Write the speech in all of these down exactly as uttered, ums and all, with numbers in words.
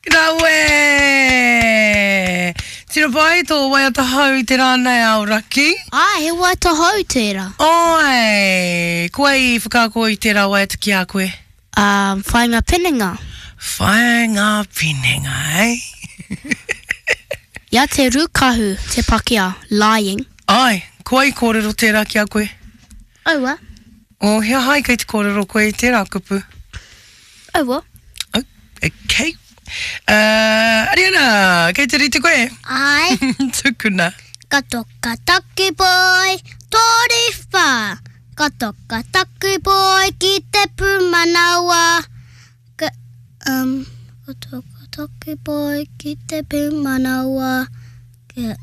Rawe! Tino pai tō waiata hou i te rā nei Aoraki. Āe, he waiata hou tērā. Āe! Ko wai i whakaako i tērā waiata ki a koe? Um, Whainga Pinenga. Whainga Pinenga, eh? Ia te Rukahu, te Pakeha, lying. Āe, ko wai i kōrero tērā ki a koe? Aua. Oh, he aha kei te kōrero koe i tērā kupu? Aua. Oh, okay. Uh, Ariana, kei te rite koe? Ai. Tukuna. Ka toka taku boy, toru whā. Ka toka taku boy ki te pūmanawa. Ka, um, ka toka taku boy ki te pūmanawa. Ka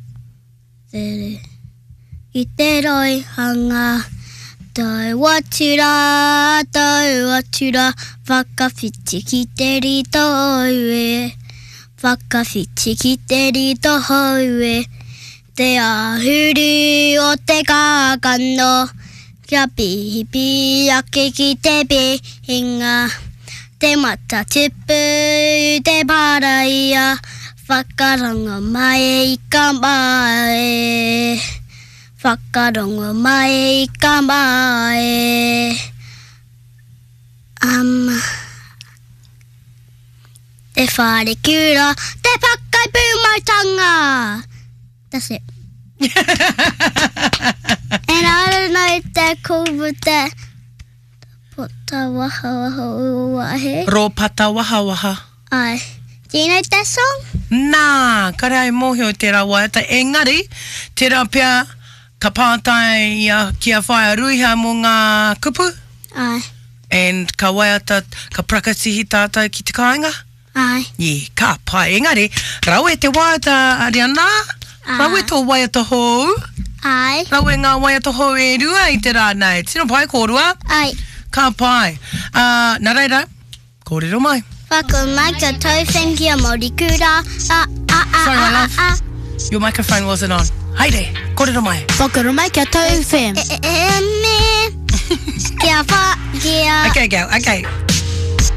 tere ki te roihanga. Tau atu rā, tau atu rā, whakawhiti ki te rito hou e. Whakawhiti ki te rito hou e. Te āhuru o te kākano, kia pihipihi ake ki te pihinga. Te mata tupu, te paraia, whakarongo mai i ka mae. Whakarongo mai i ka mae. Um, te wharekura, te pakai pūmautanga. That's it. And I don't know if they're called with the pota waha waha wahe. Rōpata wahawaha. Ai. Do you know that song? Nā, kare ai mōhio i tērā waiata. Engari, tērā pea ka pātai ia ki a Whaea Ruiha mō ngā kupu. Ai. And ka waiata, ka prakatihi tātou ki te kāinga. Ai. Yeah, ka pai. Engari, rawe te waiata, Ariana. Ai. Rawe tō waiata hou. Ai. Rawe ngā waiata hou e rua i te rā nei. Tino pai kōrua. Ai. Ka pai. Uh, nā reira, kōrero mai. Whakamai ka tauwhen ki a Māori kura. A, a, a, Sorry, my a, love. a, a. Your microphone wasn't on. Haere, kōrero mai. Whakarumai kia tauwhen. E, e, e, me. Kia wha, kia. Okay, girl, okay.